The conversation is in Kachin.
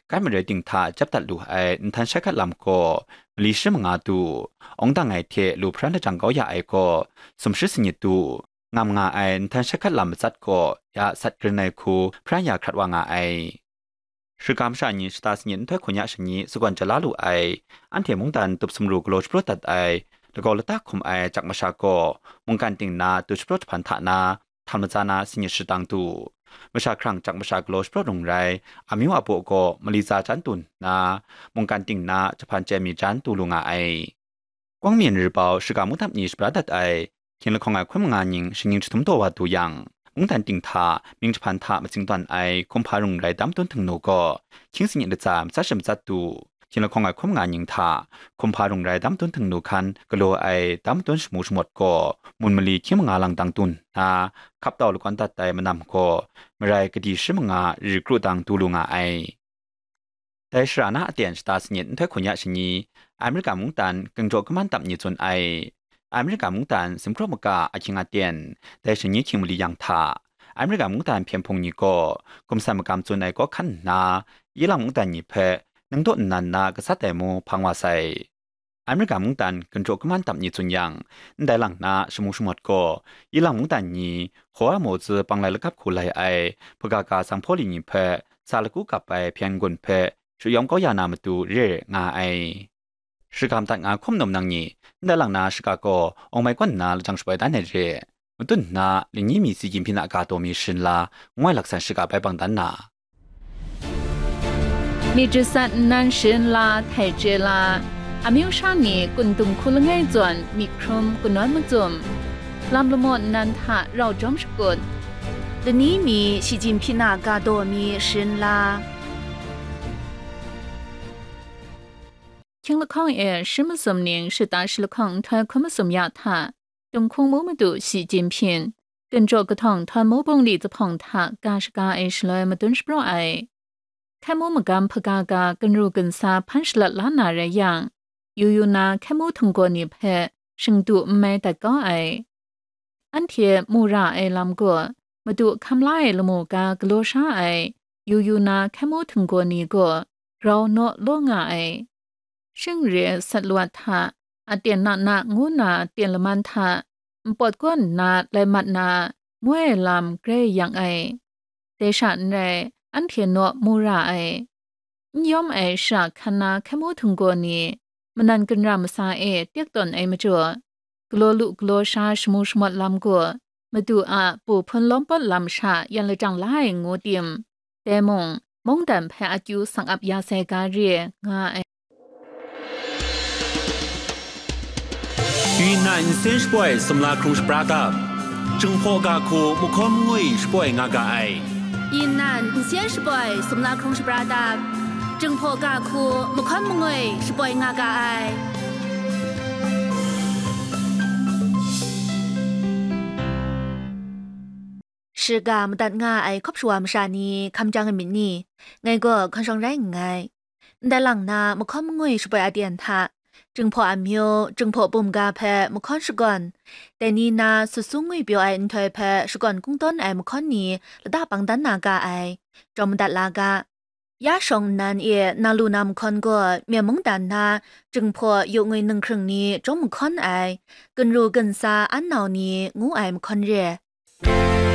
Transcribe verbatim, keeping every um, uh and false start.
kai marai ting hta jep dat lu ai nhtan shai hkat lam gaw mali shi manga tu, awng dang ai hte lu hparan lajang kau ya ai gaw sumshi sanit tu, ngam nga ai nhtan shai hkat lam matsat gaw ya sat grin ai hku hparan ya hkrat wa nga ai. Shiga masha ni shata sanit nhtoi hkun ya shani sagawn ja la lu ai, anhte mungdan tup sumru galaw shapraw dat ai, lagaw lata hkum ai jak masha gaw mungkan ting na tu shapraw jahpan hta na, htan matsa na sanit shadang tu. Masha hkrang jak masha galaw shapraw rung rai, amyu abaw gaw mali tsa jan tu nna, mungkan ting na jahpan chye mi jan tu lu nga ai. Kwang Myen Ri Bau shiga mungdan ni shabra dat ai, hkying lahkawng ai hkun manga ning shingning jahtum taw wa du yang, mungdan ting hta mying jahpan hta matsing tawn ai hkum hpa rung rai dam dun htingnu gaw, hkying sanit latsa matsat shi matsat du. Hkying lahkawng ai hkun manga ning hta hkum hpa rung rai dam dun htingnu hkan galaw ai dam dun shamu shamawt gaw, mun mali hkying manga lang dang dun nna, hkap tau lakawn dat ai manam gaw, marai kadi shi manga ri kru dang du lu nga ai. Dai shara na aten shata sanit nhtoi hkun ya shani, Amerika mungdan gungjaw kaman dap ni tsun ai. Amerika mungdan simkraw maka ahkying aten, dai shani hkying mali yang hta, Amerika mungdan hpyen hpung ni gaw gumsan magam tsun ai kaw hkan nna, Ilang mungdan ni hpe nang daw nnan na gasat ai mu hpang wa sai. Amerika mungdan gungjaw kaman dap ni tsun yang, ndai lang na shamu shamawt gaw, Ilang mungdan ni Hoa Mo Tzu panglai lakap hku lai ai hpagaga sanghpaw li ni hpe sa laku kap ai hpyen gun hpe shayawm kau ya na matu re nga ai. Shiga madat nga hkum num nang ni, ndai lang na shiga gaw awng mai kawn nna lajang shaboi dan ai re. Matun nna, lani mi si gyim hpyi na ga taw mi sharin la, ngoi laksan shiga bai bang dan na. Myit jasat nnan sharin la, htai chye la, amyu sha ni kun dung hku langai zawn myit hkrum kanawn macum, lam lamaw nnan hta rau jawm shakut, lani mi si gyim hpyi na ga taw mi sharin la. Hkying lahkawng e shi masum ning shata shi lahkawng nhtoi hkun masum ya hta, Tunghkung mu madu Xi Jinping, gungjaw kahtawng htawn mu bungli zuphpawng hta ga shaga e shaloi madun shapraw ai. Hkai mu magam hpaga ga gunru gunsa hpan shalat la na rai yang, yu yu na hkai mu htinggaw ni hpe shingdu n mai dat kau ai. Anhte mu ra ai lam gaw, madu hkam la ai lamu ga galaw sha ai, yu yu na hkai mu htinggaw ni gaw grau naw law nga ai. Shing re sat lawat hta, aten na na ngu na ten laman hta, npawt kaw nna lai mat na, ngoi lam grai yang ai. Dai sha n rai, anhte naw mu ra ai. N yawm ai shara hkan na hkai mu htinggaw ni, manan ginra masa e tek tawn ai majaw, galaw lu galaw sha shamu shamawt lam gaw, madu a pu hpun lawm pawt lam sha yan lajang la ai ngu tim, dai mung, mungdan hpe akyu sang ap ya sai ga re nga ai. Yunnan nsen shaboi sumla hkrung shapra dap, Jinghpaw ga hku mahkawn mangwi shaboi nga ga ai. Yunnan nsen shaboi sumla hkrung shapra dap, Jinghpaw ga hku mahkawn mangwi shaboi nga ga ai. Shiga madat nga ai hkawp shawa masha ni hkam jang ai myit ni? Ngai gaw hkawn shawng rai nngai. Ndai lang na mahkawn mangwi shaboi aten hta, Jinghpaw amyu, Jinghpaw bum ga hpe mahkawn shakawn, dai ni na sut sung ngwi pyaw ai nhtoi hpe shakawn kungdawn ai mahkawn ni lata pang dan na ga ai, jawm madat la ga. Ya shawng nnan e na lu na mahkawn gaw, Myen mungdan na Jinghpaw yu ngwi ninghkring ni jawm mahkawn ai, gunru gunsa an nau ni ngu ai mahkawn re.